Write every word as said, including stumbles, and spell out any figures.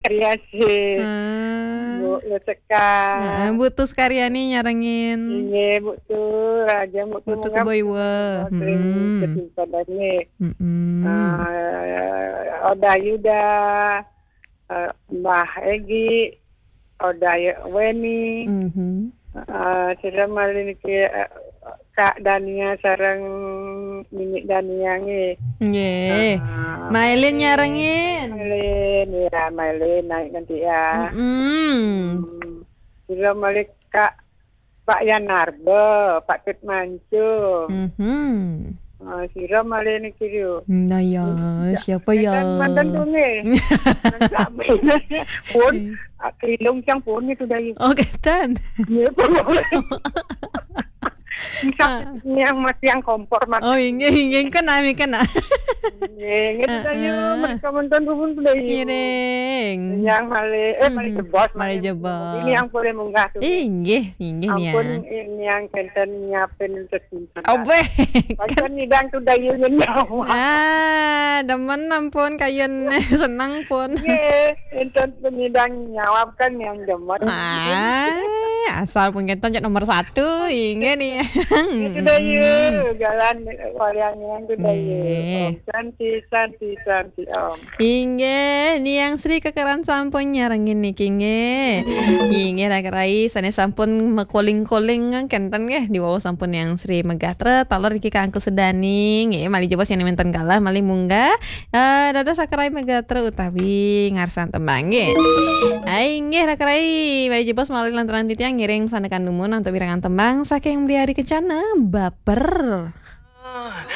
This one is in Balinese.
Terima kasih. Hmm. Bu Leseka. Heeh, Bu Tus Karyani nyarengin. Inggih, Bu Tus, Raja Bu Tus Mengap. Keboiwa. Sering kesimpanannya. Mm-mm. Eh, Oda Yuda, eh, Mbah Egi, Oda Weni. Mhm. Eh, sira malih niki, eh, Kak Dania sareng Nini Dania nggih. Nggih. Ah, Mailin nyarengin. Mailin, ya, Mailin naik nanti ya. Mm-mm. Hmm. Sira malih Kak Pak Yanarba, Pak Tut Mancung. Mhm. Ah, sira malih niki lho. Nah ya, siapa ya? Mantan tuh nggih. Pun, ah, kelilung cang pun itu dah. Oh, ketan. Nggih, pun. Bisa yang masih yang kompor, Mas. Oh, inggih, inggih, kena, mi kena. Inggih, inggih, Dayu, mereka mantan pun sudah, iya. Ngiring. Yang malih, eh, malih jebos, malih jebos. Ini yang boleh munggah tuh. Inggih, inggih, ya. Ampun, ini yang kenten nyiapin untuk simpan. Oh, beh. Pancen nyidang tuh Dayu nyenyawab. Ah, demen ampun kayun seneng pun. Nggih, enten penyidang nyawab kan yang demen. Ah, asal pun kenten cek nomor satu, inggih nih. Itu Dayu, jalan wayang yang tuh Dayu. Nggih. Om Santi, Santi, Santi, Om. Inggih, Niang Sri kekeran sampun nyarengin niki nggih. Inggih, Raka Rai, sane sampun mekoling-koling kenten nggih, diwau sampun Niang Sri megatra, taler niki kangku sedani nggih, malih jebos yang minten kalah, malih munggah. Eh, dados Raka Rai megatra utawi ngarsan tembang nggih. Ah, inggih, Raka Rai, malih jebos malih lantaran titiang ngiring sanekan dumun antuk wirangan tembang saking Bli Ari Kencana, Baper.